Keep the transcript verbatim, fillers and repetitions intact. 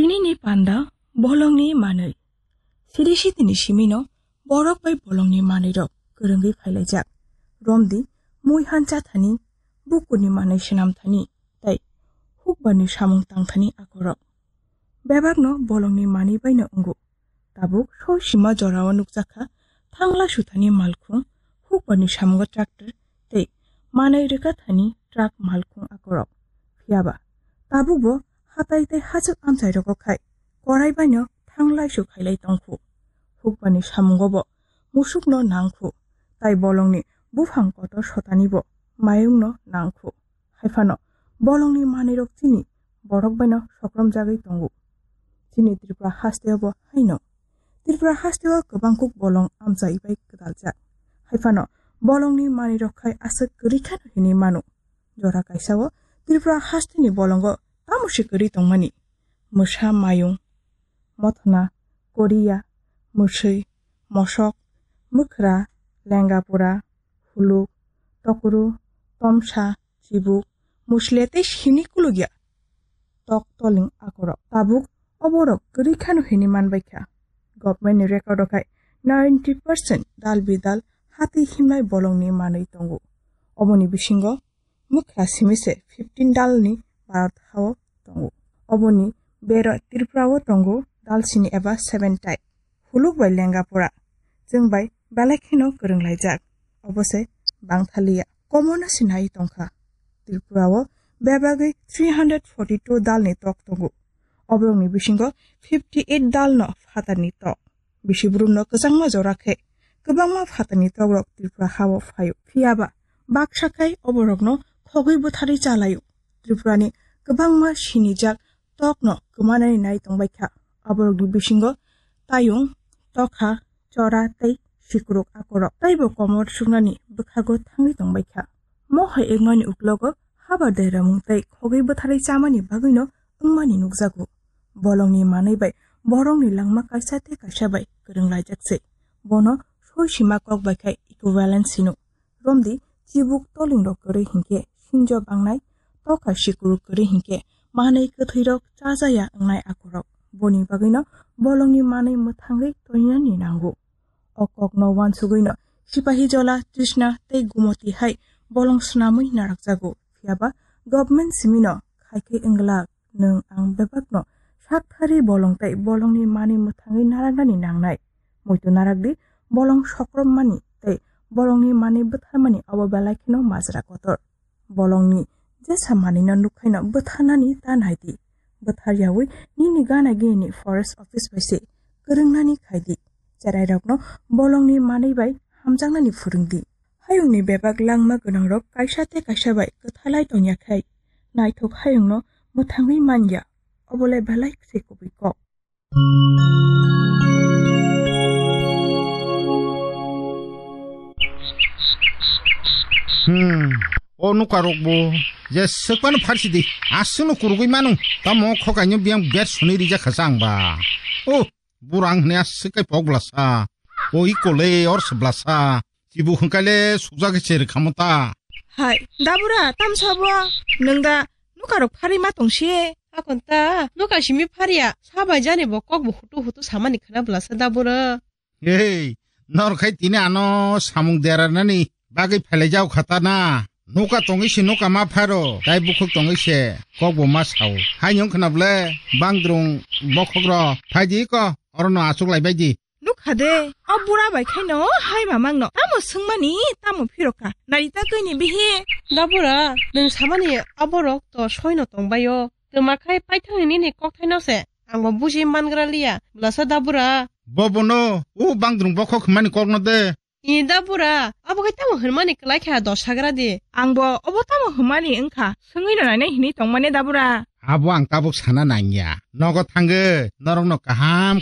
Nini panda bolongni manwi. Siri sitini simino borok bai bolongni manwirok kwrwngwi phailaijak. Romdi mui han chathani, bukurni manwi swnamthani tei hukbarni samung tangthani akorok. Bebakno bolongni manwi baino wngo. Tabuk soi sima jorao nukjakha thangla suthani malkhung, hukbarni samungo tractor tei manwi rwkathani truck malkhung akorok. Phiyaba tabukbo hatai tei hachwk amchairogo khai korai baino thanglai su khailai tongkhu. Hukbarni samungobo musukno nangkhu, tai bolongni buphang kotor sotanibo mayungno nangkhu. Haiphano bolongni manwirok chini borok baino sokromjagwi tongo. Chini Tripura hasteo bo haino. Tripura hasteo kwbang kuk bolong amchai bai kwdaljak. Haiphano bolongni manwirok khai aswk kwrwi kheno hinwi mano. Jora kaisao Tripura hasteni bolongo tamo se kwrwi tongmani? Mwsa, mayung, mothona, koriya, mwswi, mosok, mwkhra, lengapura, huluk, tokru, tomsa, chibuk, musle tei sini kulugya. Tok toling akorok tabuk oborok kwrwi khano hinwi manbaikha. Government ni record o khai ninety percent dal bidal hati himnai bolongni manwi tongo. Oboni bisingo mwkhra simi se fifteen dalni Bharat hao tongo. Oboni bero Tripura o tongo dal sini eba seven tai. Huluk bai lenga pura. Chwng bai belai kheno kwrwng laijak. Obo se bangthaliya. Komono sinai tongkha. Tripura o bebagwi three hundred forty two dalni tok tongo. Oborokni bisingo fifty eight dalno phatarni tok. Bisi burumno kwchangma jora khe kwbangma phatarni tokrok Tripura hao phaio. Phiyaba baksa khai oborokno khogwi bwtharwi chalaio. Tripurani kwbangma sinijak tokno kwmanani nai tongbaikha. Aborokni bisingo tayung, tokha, chora tei sikuruk akorok teibo komor suknani bwkhago thangwi tongbaikha. Mohai wngmani uklogo habar deramung tei khogwi bwtharwi chamani bagwino wngmani nukjago. Bolongni manwi bai borokni langma kaisa tei kaisa bai kwrwng laijak se. Bono soi sima kok bai khai equivalence hino. Romdi chibuk tolingrok kwrwi hinkhe sinjo bangnai, tokha sikuruk kwrwi hinkhe manwi kwthwirok chajaya wngnai akorok. Boni bagwino bolongni manwi mwthangwi toinani nango. O kokno uansugwino Sipahijola, Trishna tei Gumoti hai bolong swnamwi narakjago. Phiyaba government simino khai khe wngwlak nwng ang bebakno sakthari bolong tei bolongni manwi mwthangwi naraknani nangnai. Muitu narakdi bolong sokrommani tei bolongni manwi bwtharmani abo belai kheno majra kotor. Bolongni jesa manwino nukhaino bwtharnani ta naidi. Bwthar yaui nini gana gini forest office bai se kwrwngnani khaidi. Cherairokno bolongni manwi bai hamjaknani phwrwngdi. Hayungni bebak langma gwnangrok kaisa tei kaisa bai kwthalai tongya khai naithok hayungno mwthangwi manya. Obolai belai se kubui kok. Hmm. O nukarok bo je sekpano pharsi di. Aswkno kurugwi manu. Tamo khokaino biyang bet suni rija khasa ang ba. O burang hne aswk kai pok blasa. O ikole or se blasa. Chibu hwnkale sukjak se rwkhamo ta. Hai, dabura, tamsa bo? Nwng da nukarok pharwi ma tongsi? Akon ta, nuka simi pharya. Sabai jani bo kok bo hutu hutu samani khna blasa dabura. Hei, nor khai tini ano samung deranani bagwi phailai jao khata na. Nuka tongwi se nuka ma pharo, tai bukhuk tongwi se kok bo ma sao. Hai nyong khna ble, bangdrung bokhok ro, phai di ko, oro no achuk lai bai di. Nukha de, o bura bai khaino hai mamang no. Tamo swngmani, tamo phirokha. Nari ta kwi ni bihi. Dabura, nwng samani aborok to soino tongbaio. Twma khai paithangni nini kokthaino se. Ang bo buji mangra liya. Blasa dabura. Bobono, o bangdrung bokhok hwnmani kokno de. I dabura, abo khai tamo hwnmani kwlai kha dos hagra di. Ang bo obo tamo hwnmani wngkha. Swngwi no nainai hinwi tongmani dabura. Abo ang tabuk sana nangya. Nogo thangwi, norokno kaham